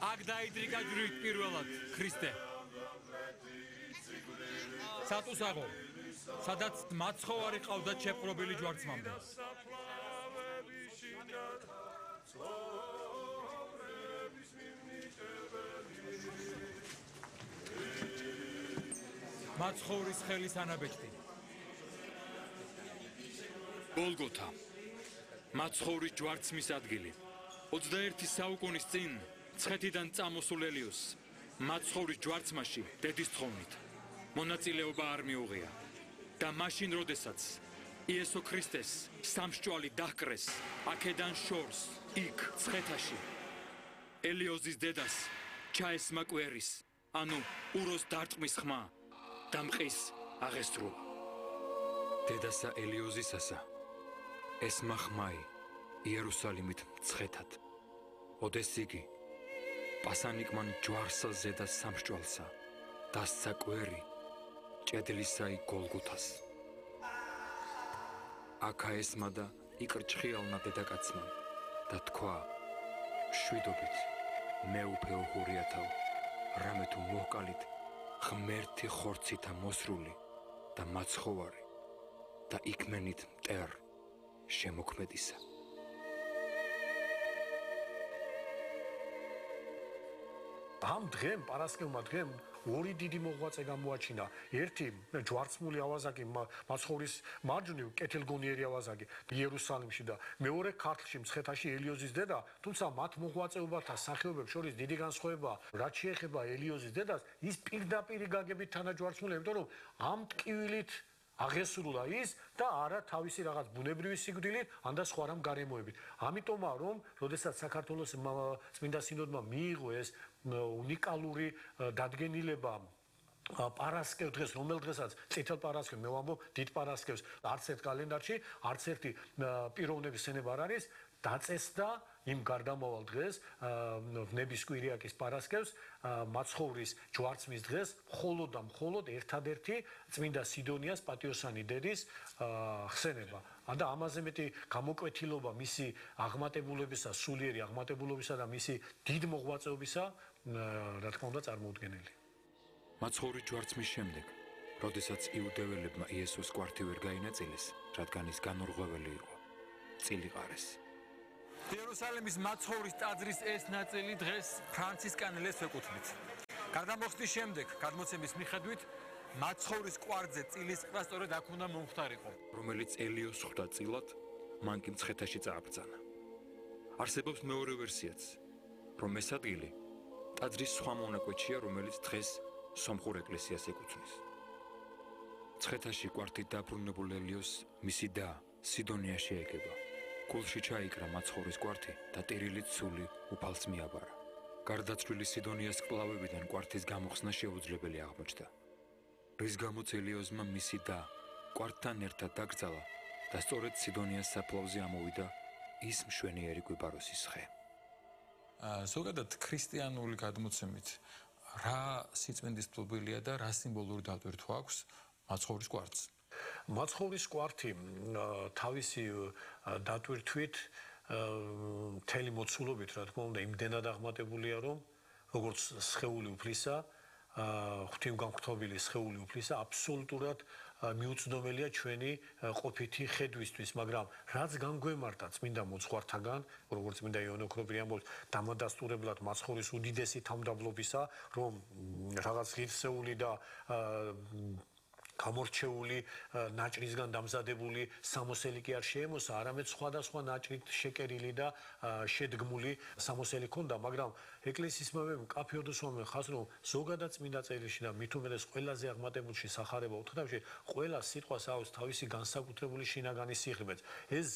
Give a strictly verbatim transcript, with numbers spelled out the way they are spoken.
აქ დაიდრიგა ჯვრით პირველად ქრისტე. სატუსაღო, სადაც მაცხოვარი ყავდა შეპყრობილი ჯვარცმამდე. მაცხოვრის ხელის ანაბეჭდი. გოლგოთა. მაცხოვრის ჯვარცმის ადგილი. ოცდაერთი საუკუნის წინ მცხეთიდან წამოსულ ელიოსს მაცხოვრის ჯვარცმაში დედის თხოვნით მონაწილეობა არ მიუღია და მაშინ როდესაც იესო ქრისტეს სამსჭვალი დაჰკრეს აქედან შორს იქ მცხეთაში ელიოზის დედას ჩაესმა კვერის ანუ უროს დარტყმის ხმა და მყის აღესრულა დედასა ელიოზისასა ესმა ხმაი იერუსალიმით მცხეთად ოდეს იგი პასანიკმან ჯვარსა ზედა სამსჭვალსა დასცა კვერი ჭედლისაი გოლგოთას აქა ესმა და იკრჩხიალნა დედაკაცმა და თქვა შვიდობით მე უფეო ჰურიათაო რამე თუ მოჰკალით ღმერთი ხორცითა მოსრული და მაცხოვარი და იქმენით მტერ შემოქმედისა ამ დღემ პარასკევმა დღემ ორი დიდი მოღვაწე გამოაჩინა. ერთი ჯვარცმული ავაზაკი მაცხოვრის მარჯვნივ კეთილგონიერი ავაზაკი იერუსალიმში და მეორე ქართლში მცხეთაში ელიოზის დედა, თუმცა მათ მოღვაწეობათა სახეობებს შორის დიდი განსხვავებაა. რაც შეეხება ელიოზის დედას, ის პირდაპირ გაგებით თანაჯვარცმულია, იმიტომ რომ ამ ტკივილით აღესრულა ის და არა თავისი რაღაც ბუნებრივი სიკვდილით, ან და სხვა რამ გარემოებით. ამიტომაა რომ, როდესაც საქართველოს წმინდა სინოდმა მიიღო ეს უნიკალური დადგენილება პარასკევ დღეს, რომელ დღესაც წითელ პარასკევს, მე ვამბობ დიდ პარასკევს, არც ერთ კალენდარში, არც ერთი პიროვნების ცნება არ არის, დაწესდა იმ გარდამავალ დღეს, ნების კვირიაკის პარასკევს, მაცხოვრის ჯვარცმის დღეს, მხოლოდ და მხოლოდ ერთადერთი წმინდა სიდონიას პატიოსანი დედის ხსენება. და ამაზე მეტი გამოკვეთილობა მისი აღმატებულებისა, სულიერი აღმატებულებისა და მისი დიდ მოღვაწეობისა, რა თქმა უნდა, წარმოუდგენელი. მაცხოვრის ჯვარცმის შემდეგ, როდესაც იუდეველებმა იესოს კვართი ვერ გაინაწილეს, რადგან ის განურღვეველი იყო, წილიყარეს. იერუსალიმის მაცხოვრის ტაძრის ეს ნაწილი დღეს ფრანცისკანელებს ეკუთვნით. გარდამოხსნის შემდეგ, გადმოცემის მიხედვით, მაცხოვრის კვართზე წილისყრა სწორედ აქ უნდა მომხდარიყო, რომელიც ელიოს ხვდა წილად, მან კი მცხეთაში წააბრძანა. არსებობს მეორე ვერსიაც, რომ ეს ადგილი ტაძრის სხვა მონაკვეთშია, რომელიც დღეს სომხურ ეკლესიას ეკუთვნის. მცხეთაში კვართით დაბრუნებულ ელიოს მისი და სიდონია შეეგება. გულში ჩაიკრა მაცხოვრის კვართი და ტირილით სული უფალს მიაბარა. გარდაცვლილი სიდონიას კვლავებიდან კვართის გამოხსნა შეუძლებელი აღმოჩნდა. რის გამოც ელიოზმა მისი და კვართთან ერთად დაკრძალა და სწორედ სიდონიას საფლავზე ამოვიდა ის მშვენიერი კვიპაროსის ხე. ზოგადად ქრისტიანული გადმოცემით რა სიწმინდის ფლობელია და რა სიმბოლური დატვირთვა აქვს მაცხოვრის კვართს? მაცხოვრის კვართი თავისი დატვირთვით მთელი მოცულობით, რა თქმა უნდა, იმდენად აღმატებულია, რომ როგორც სხეული უფლისა, ღვთივგამხრობილი სხეული უფლისა, აბსოლუტურად მიუწვდომელია ჩვენი ყოფითი ხედვისთვის, მაგრამ რაც განგვემართა წმინდა მოძღვართაგან, როგორც წმინდა იოანე ოქროპირი ამბობს, დამადასტურებლად მაცხოვრის უდიდესი თავმდაბლობისა, რომ რაღაც ღირსეული და გამორჩეული ნაჭრისგან დამზადებული სამოსელი კი არ შეემოსა, არამედ სხვადასხვა ნაჭრით შეკერილი და შედგმული სამოსელი ქონდა, მაგრამ ეკლესიის მამებმა მკაფიოდ უსვამენ ხაზს, რომ ზოგადად წმინდა წერილში და მით უმეტეს ყველაზე აღმატებულში სახარება ოთხთავში ყველა სიტყვას აქვს თავისი განსაკუთრებული შინაგანი სიღრმეც. ეს